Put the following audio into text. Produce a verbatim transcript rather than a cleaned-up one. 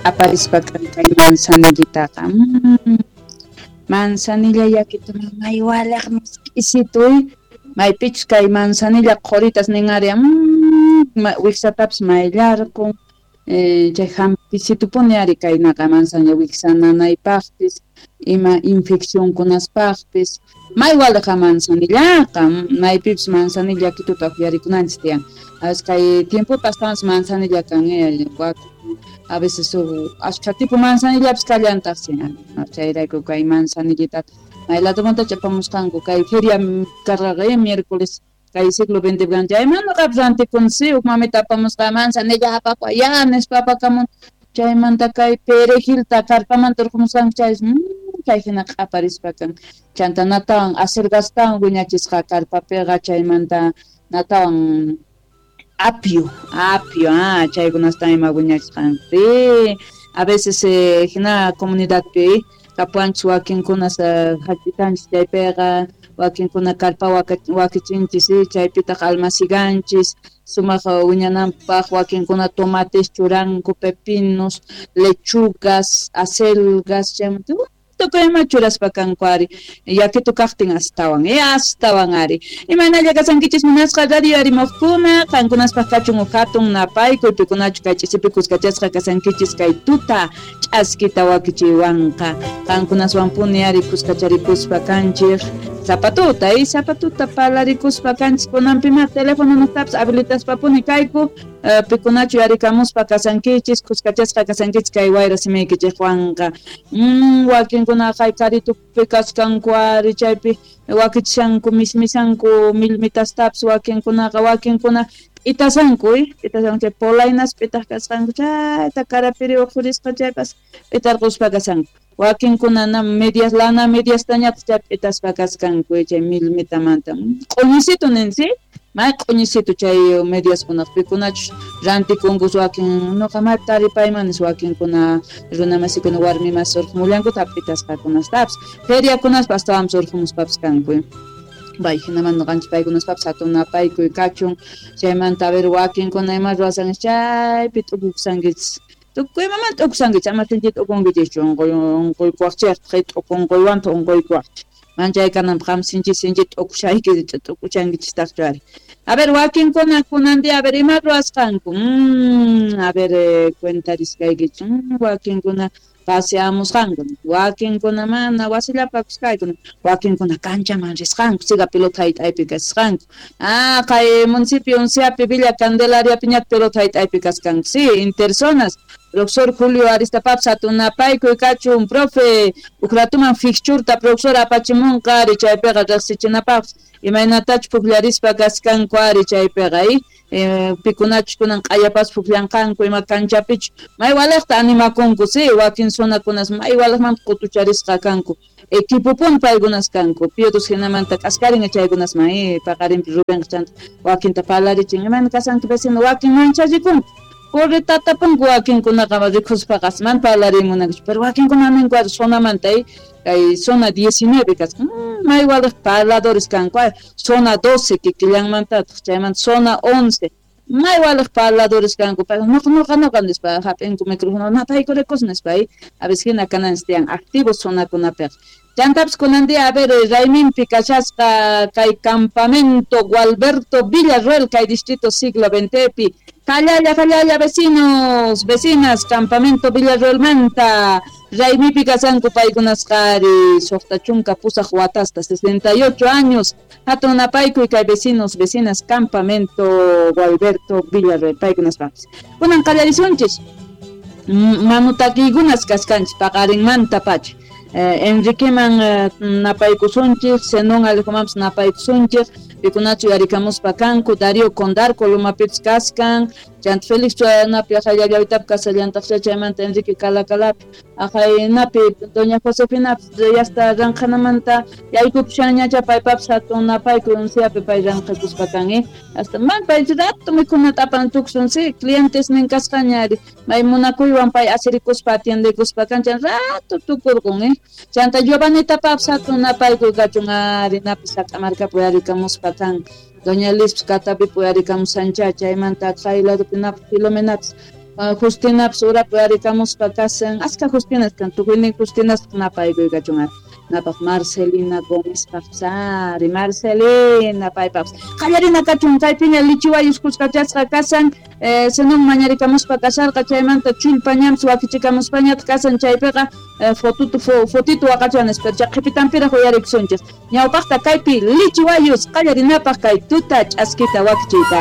Q'aparispa kay manzanillitaqa. Mm. Manzanilla yakitu may walaq misk'isituy maypichus kay manzanilla qhuritas nin ari mm, wiksatapis mayllarqun eh, chay hampisitupuni ari kaynaqa manzanilla wiksa nanaypaqpis ima infeccionkunaspaqpis may waliqa manzanillaqa maypipis manzanilla yakituta uqyarikunanchis tiyan. A veces kay tiempopi astawanpas manzanilla kan eh, a veces ashkha tipo manzanillapis kallantaqsi chayrayku kay manzanillitata may ladomanta apamusqanku kay feria karqaqa miércoles kay siglo veinte chayman nuqapis rantikunsi huk mamita apamusqa manzanilla apakuy ya nispa apakamun chaymanta kay perejilta karpamanta urqumusqanku chaysi chay hina q'aparispa kan chanta natawan acelgastawan wiñachisqa karpapiqa chaymanta natawan apio, apio, ah, chaykunasta ima wiñachisqanku. Sí, a veces eh, hina comunidadpi kapuwanchis wakinkunas hach'itanchis chaypiqa wakinkuna karpa wakichinchis chaypitaq almaciganchis sumaq wiñananpaq wakinkuna tomates churanku pepinos, lechugas, acelgas chaymanta tukuy ima churaspa kanku ari yakitu kaqtin astawan eh astawan ari imaynalla kasankichis munasqa radio arimuqkuna qankunaspaq kachun huk hatun napaykuy pikunachu kay ch'isipi kuskachasqa kasankichis kay tuta ch'askita wakichiywanqa qankunaswanpuni ari kuskacharikuspa kanchik zapatuta y zapatuta parlarikuspa kanchis kunanpima telefono nuqtapis habilitaspapuni kayku pikunachu yarikamuspa kasankichis kuskachasqa kasankichis kay wayra simiykichikwanqa mm, wakinkuna kay karitupi kaskanku ari chaypi wakichishanku mismisanku millmitastapis wakinkunaqa wakinkuna p'itasanku p'itasanku chay polainas p'itaq kasqanku chayta karapiri uqhurisqa chaypas p'itarquspa kashanku wakinkuna medias lana mediastañataq chay p'itaspa kaskanku chay millmitamanta q'uñisitu ninsi may q'uñisitu chay mediaskunaq pikunachus rantikunkus wakin nuqa maypi taripaymanis wakinkuna runamasikuna warmimas urqumullankutaq p'itasqakunastapis feriakunaspa astawanpis urqumuspapis kanku bay hinaman nuqanchis paykunaspapis hatun napaykuy kachun chaymanta a ver wakinkuna ima ruwasanchis chaypi t'ukukusankichis tukuy imamanta t'ukusankichis ama sinchita t'ukunkichischu unquy unquykuwaqchikqa t'uku unquywantaq unquykuwaqchik manchay kananpaq qam sinchi sinchi t'ukushayki t'ukuchankichistaqchu ari a ver wakinkuna kunan día a ver ima ruwasqanku mm, a ver eh, cuentariskaykichis mm, wakinkuna paseamusqanku wakinkuna mana wasillapakuskayku wakinkuna kanchaman risqanku siga pelota hayt'aypi kasqanku ah kay municipio Unciapi Villa Candelariapiñataq pelota hayt'aypi kasqanku sí interzonas profesor Julio Aristapapis hatun napaykuy kachun profe huk ratuman fixturta profesor apachimunqa ari chaypiqa riqsichinapaqpis imaynatachus pukllarispa kaskanku ari chaypiqa eh, pikunachus kunan q'ayapas pukllanqanku ima kanchapichu may waliqta animakunku sí wakin zonakunas may waliqmanta qutucharisqa kanku equipopuni paykunas kanku Piotr hinamanta k'askarin chaykunasman eh, paqarinpi Rubenqa chanta wakinta parlarichin imayna kasanki vecino wakin manchachikunku corretatapunku wakinkunaqa rikuspaqa mana parlarimunankuchu pero wakinkuna ninku ari zonamanta eh, kay zona diecinueve kasqa mm, may waliq parladores kanku zona doce kikillanmantataq chaymanta zona once may waliq parladores kanku nuqa nuqa nuqa nispa hap'inku micrófono napaykurikos nispa a veces hina kananchis tiyan activos zonakunapiqa chantapis kunan día a ver rayminpi kashasqa kay campamento Gualberto Villarroel kay distrito siglo veintepi Jallalla, jallalla, vecinos, vecinas, campamento Villarroelmanta, raymipi kasanku paykunasqa ari suqta chunka pusaq watasta, sesenta y ocho años, hatun napaykuy kay vecinos, vecinas, campamento Gualberto Villarroel, paykunaspapis. Kunan qallarisunchis, manutakiykunas kaskanchis paqarinmanta pacha. Eh, Enriqueman eh, napaykusunchis, Zenón Alejomanpis napaykusunchis, pikunachu yarikamuspa kanku, Darío Condarco lumapipis kaskan, chanta Félix napi aqhayllawitapi kasallantaqcha chaymanta Enrique Calacalapi, aqhaynapi doña Josefinapis yasta ranqhanamanta yaykupushanñacha paypapis hatun napaykuy Unciapi pay ranqhakuspa kan, eh? Hasta man pay rato mikhunata apan tuksun, sí, clientesnin kasqaña ari, may munakuywan pay asirikuspa atiendekuspa kan, chan rato tukurqun, eh? Chanta Giovanitapapis hatun napaykuy kachun ari napi Sac'amarkapi yarikamuspa kan, doña Lispis Katapipi uyarikamusancha chaymanta kay ladopi napi Filomenapis Justinapas urapi arikamuspa kasan, aska Justinas kan, tukuynin Justinas napaykuykachun ari. Napaq Marcelina Gómezpaq ari, Marcelina paypaqpas. Qallarina kachun kaypiña lichiwayus kuskachasqa kasan, eh, Zenón mañarikamuspa kasarqa, chaymanta chullpañampis wakichikamuspañataq kasan, chaypiqa eh, fotutu fotito waqachan nispa, qhipitanpiraq uyarikusunchis. Ñawpaqta kaypi lichiwayus qallarinapaq kay tuta ch'askita wakichiyta.